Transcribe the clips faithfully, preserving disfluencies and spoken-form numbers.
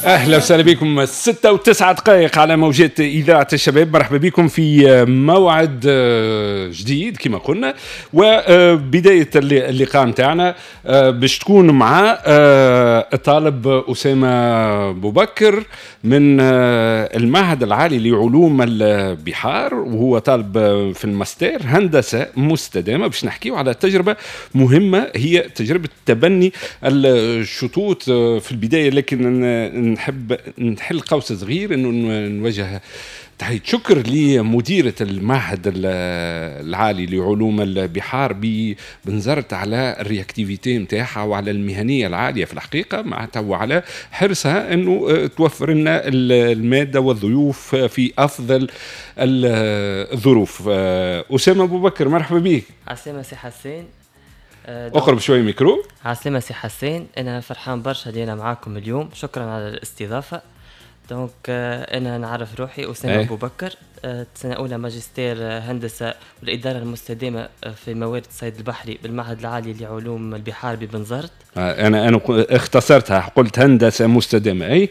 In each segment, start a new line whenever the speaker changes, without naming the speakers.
اهلا وسهلا بكم، ستة وتسعة دقائق على موجات اذاعة الشباب. مرحبا بكم في موعد جديد كما قلنا، وبداية اللقاء نتاعنا باش تكون مع الطالب اسامة بوبكر من المعهد العالي لعلوم البحار، وهو طالب في الماستر هندسة مستدامه، باش نحكيو على تجربه مهمة هي تجربه تبني الشطوط في البدايه. لكن نحب نحل قوس صغير انه نوجه تحية شكر لمديرة المعهد العالي لعلوم البحار ببنزرت على ال réactivité نتاعها وعلى المهنية العالية في الحقيقة معناتها، وعلى حرصها انه توفر لنا المادة والضيوف في افضل الظروف. أسامة أبو بكر، مرحبا بك.
عسلامة سي حسين.
اقرب شوي ميكرو.
عسلامة سي حسين، انا فرحان برشا اللي انا معاكم اليوم، شكرا على الاستضافة. donc انا نعرف روحي اسامة ابو بكر، سنة اولى ماجستير هندسة والادارة المستدامة في موارد الصيد البحري بالمعهد العالي لعلوم البحار ببنزرت.
انا انا اختصرتها، قلت هندسة مستدامه. اي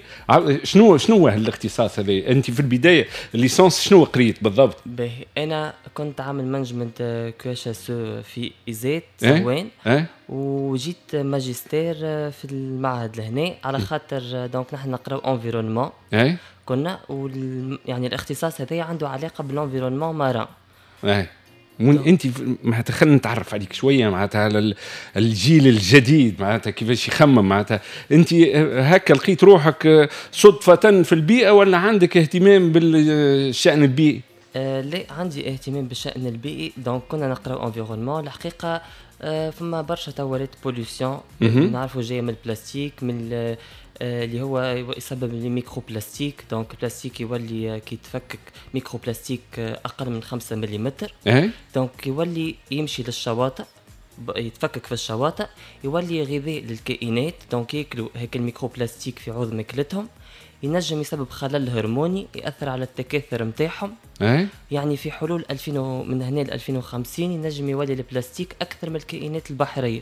شنو شنو هو الاختصاص هذا؟ انت في البداية licence شنو قريت بالضبط؟
باهي، انا كنت عامل management QHSE في ISET صوان،
ايه؟
وجيت ماجستير في المعهد لهنا على خاطر donc نحن نقراو environnement.
ايه
كنا وال... يعني الاختصاص هذا عنده علاقة بال environnement marin.
ايه انت معناتها خلينا نتعرف عليك شويه، معناتها على الجيل الجديد، معناتها كيفاش يخمم. معناتها انت هكا لقيت روحك صدفة في البيئة ولا عندك اهتمام بالشان البيئي؟
آه لا، عندي اهتمام بالشان البيئي. donc كنا نقراو environnement، الحقيقة آه فما برشا توا ولات pollution نعرفوا جاية من البلاستيك، من آه اللي هو يسبب les microplastiques. donc البلاستيك يولي كي يتفكك microplastique اقل من خمسة ملم.
ايه
donc يولي يمشي للشواطئ، يتفكك في الشواطئ، يولي غذاء للكائنات، donc ياكلوا هيك ال microplastique في عوض ماكلتهم، ينجم يسبب خلل هرموني ياثر على التكاثر نتاعهم.
ايه
يعني في حلول ألفين و... من هنا ل ألفين وخمسين ينجم يولي البلاستيك اكثر من الكائنات البحريه.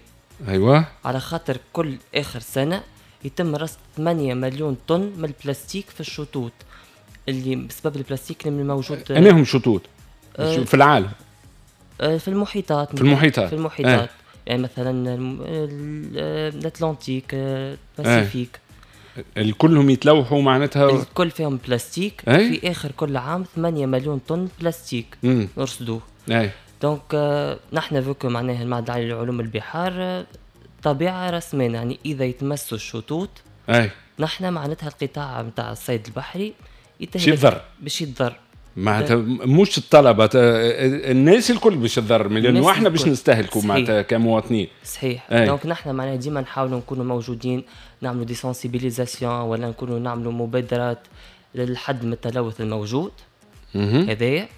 ايوه
على خاطر كل اخر سنة يتم رصد ثمانية مليون طن من البلاستيك في الشطوط، اللي بسبب البلاستيك اللي موجود.
انهم شطوط؟ أه في العالم؟
أه في المحيطات.
في المحيطات.
في المحيطات. أه. يعني مثلا l'Atlantique، ال Pacifique.
أه. الكلهم يتلوحوا معناتها؟
الكل فيهم بلاستيك. أي؟ في اخر كل عام ثمانية مليون طن بلاستيك نرصدوه.
اي
donc آه نحن vu que معناها المعهد العالي لعلوم البحار آه طبيعة رسميا، يعني اذا يتمسوا الشطوط
اي
نحن معناتها القطاع نتاع الصيد البحري
باش يتضر.
باش يتضر.
معناتها مش الطلبه، الناس الكل باش تضر، لانه احنا باش نستهلكوا معناتها كمواطنين.
صحيح. donc نحن معناها ديما نحاولوا نكونوا موجودين، نعملوا des sensibilisations ولا نكونوا نعملوا مبادرات للحد من التلوث الموجود هذايا،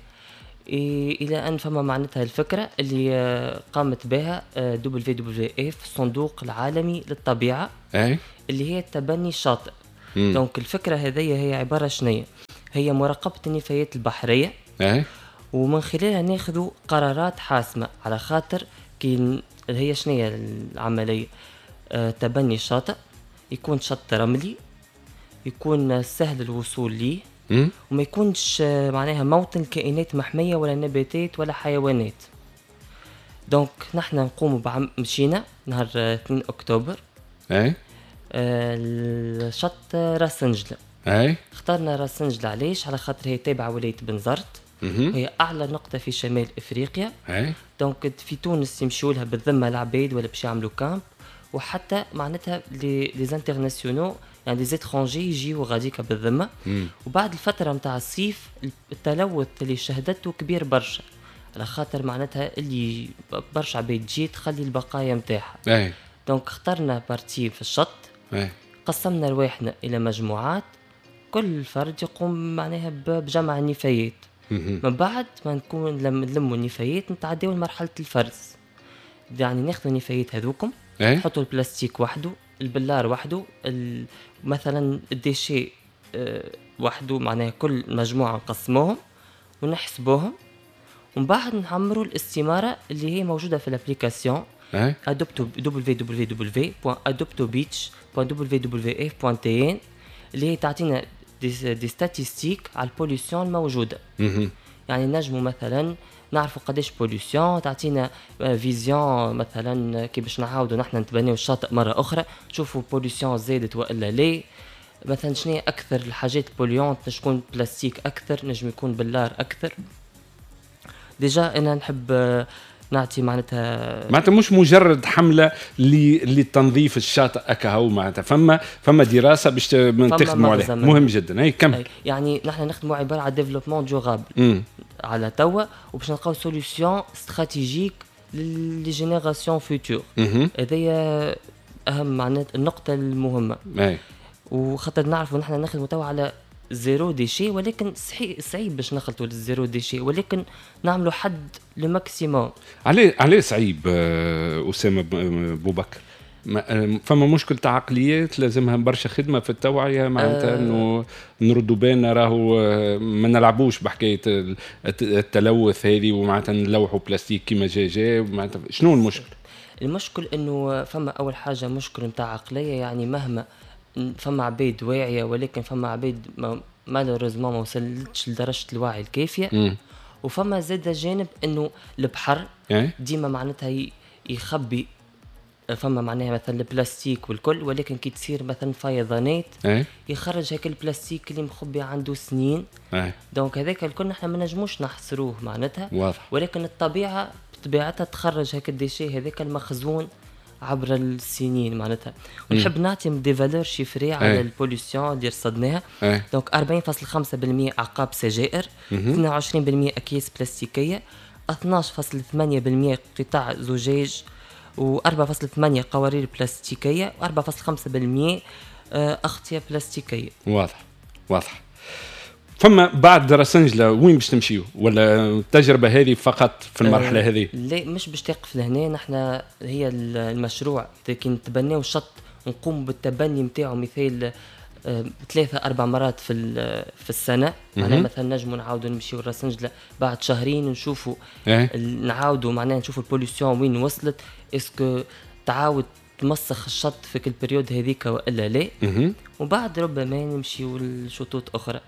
الى ان فما معناتها الفكرة اللي قامت بها WWF، الصندوق العالمي للطبيعه.
أي.
اللي هي تبني الشاطئ. donc الفكرة هذه هي عبارة شنية؟ هي مراقبة النفايات البحريه.
أي.
ومن خلالها ناخذ قرارات حاسمه، على خاطر كي هي شنية العمليه؟ آه تبني الشاطئ يكون شط رملي، يكون سهل الوصول ليه، وما يكونش معناها موطن كائنات محمية ولا نباتات ولا حيوانات. donc نحن نقوم بعم مشينا نهار اثنين اكتوبر.
اي
الشط راس نجلة.
اي
اخترنا راس نجلة علاش؟ على خاطر هي تابعة ولاية بنزرت، هي اعلى نقطة في شمال افريقيا.
اي
donc في تونس يمشوا لها بالذمة العباد ولا باش يعملوا camp، وحتى معناتها les internationaux، يعني les étrangers يجيو غاديكا بالذمه. وبعد الفترة نتاع الصيف التلوث اللي شهدته كبير برشا، على خاطر معناتها اللي برشا عباد تجي تخلي البقايا نتاعها.
اي
donc اخترنا partie في الشط.
اي
قسمنا رواحنا الى مجموعات، كل فرد يقوم معناها بجمع النفايات. من بعد ما نكون لم نلموا النفايات نتعداو لمرحلة الفرز، يعني ناخذ النفايات هذوكم،
اي
نحطوا البلاستيك وحده، البلار وحده، مثلا ال déchets آه، وحده، معناها كل مجموعة نقسموهم ونحسبوهم، ومن بعد نعمروا الاستمارة اللي هي موجودة في l'application
اي
adopto www.adoptobeach.wwf.tn، اللي هي تعطينا des, des statistiques على ال pollution الموجودة.
مهم.
يعني نجموا مثلا نعرفوا قداش pollution، تعطينا vision مثلا كي باش نعاودوا نحن نتبنيو الشاطئ مرة اخرى، نشوفوا pollution زادت والا لا. مثلا شنو اكثر الحاجات polluantes، نجم يكون بلاستيك اكثر، نجم يكون بلار اكثر. déjà انا نحب نعطي معناتها
معناتها مش مجرد حمله للتنظيف الشاطئ اكاهو، معناتها فما فما دراسة باش تخدموا عليها، مهم جدا. اي كمل.
يعني نحن نخدموا عبارة على développement durable على توا، وباش نلقاو solution stratégique les générations futures. هذايا اهم معناتها النقطة المهمة.
أي.
وخاطر نعرفوا نحن نخدموا توا على zéro déchet، ولكن صحيح صعيب باش نخلطوا لل zéro déchet، ولكن نعملوا حد le maximum.
عليه عليه صعيب اسامة بوبكر؟ فما مشكل تاع عقليات لازمها برشا خدمة في التوعية، معناتها انه نردوا بالنا راهو ما نلعبوش بحكاية التلوث هذه، ومعناتها نلوحوا بلاستيك كيما جا جا. معناتها شنو المشكل؟
المشكل انه فما اول حاجة مشكل نتاع عقلية، يعني مهما فما عباد واعية، ولكن فما عباد malheureusement ما وصلتش لدرجة الوعي الكافيه.
م.
وفما زاد جانب انه البحر ديما معناتها يخبي، فما معناها مثلا البلاستيك والكل، ولكن كي تصير مثلا فيضانات يخرج هيك البلاستيك اللي مخبي عنده سنين.
ايه.
donc هذاك الكل نحن ما نجموش نحصروه معناتها.
واضح.
ولكن الطبيعة بطبيعتها تخرج هيك ال déchets هذاك المخزون عبر السنين معناتها. ونحب نعطي des valeurs chiffrées على ال pollution اللي رصدناها. donc أربعين فاصلة خمسة بالمية اعقاب سجائر، اثنين وعشرين بالمية اكياس بلاستيكيه، اثناش فاصلة ثمانية بالمية قطع زجاج، وأربعة فاصلة ثمانية قوارير بلاستيكية، وأربعة فاصلة خمسة بالمية أغطية بلاستيكية.
واضح واضح. فما بعد راسنجلة وين باش تمشيو؟ ولا التجربة هذه فقط في المرحلة
أه
هذه؟
لا، مش باش تقف لهنا. نحن هي المشروع كي نتبناو شط نقوم بالتبني نتاعو مثال ثلاثة أربع مرات في في السنة. معناها مثلا نجموا نعاودوا نمشيو لراسنجلة بعد شهرين نشوفوا
إيه؟
نعاودوا معناها نشوفوا ال pollution وين وصلت، est-ce que تعاود تمسخ الشط في كل période هذيك والا لا. وبعد ربما نمشيو لشطوط أخرى.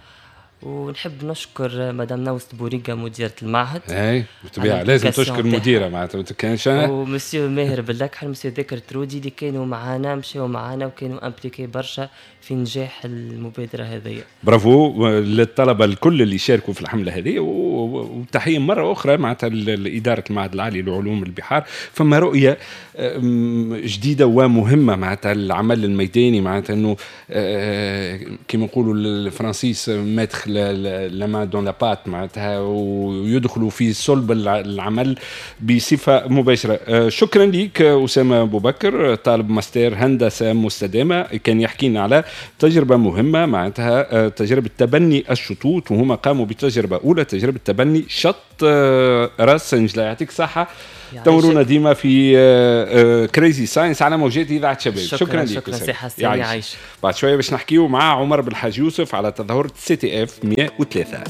ونحب نشكر مدام نوست بوريقا مديرة المعهد.
اي بالطبيعة لازم تشكر المديرة معناتها ما كانش.
ومسيو ماهر باللكحل، مسيو ذاكر ترودي اللي كانوا معانا، مشاو معانا وكانوا impliqués برشا في نجاح المبادرة هذه.
برافو للطلبة الكل اللي شاركوا في الحملة هذه، وتحية مرة أخرى معناتها لإدارة المعهد العالي لعلوم البحار. فما رؤية جديدة ومهمة معناتها العمل الميداني، معناتها انه كما نقولوا الفرنسيس mettre la main dans la pâte، معناتها ويدخلوا في صلب العمل بصفة مباشرة. شكرا لك اسامة ابو بكر، طالب ماستر هندسة مستدامة، كان يحكينا على تجربه مهمة معناتها تجربه تبني الشطوط، وهما قاموا بتجربه اولى، تجربه تبني شط راس سنجلة. يعطيك الصحة، تورونا ديما في Crazy Science على موجات اذاعة شباب.
شكرا, شكرا لك. شكرا سي حسين، يعيش.
بعد شوية باش نحكيو مع عمر بالحاج يوسف على تظاهرة CTF مية وثلاثة.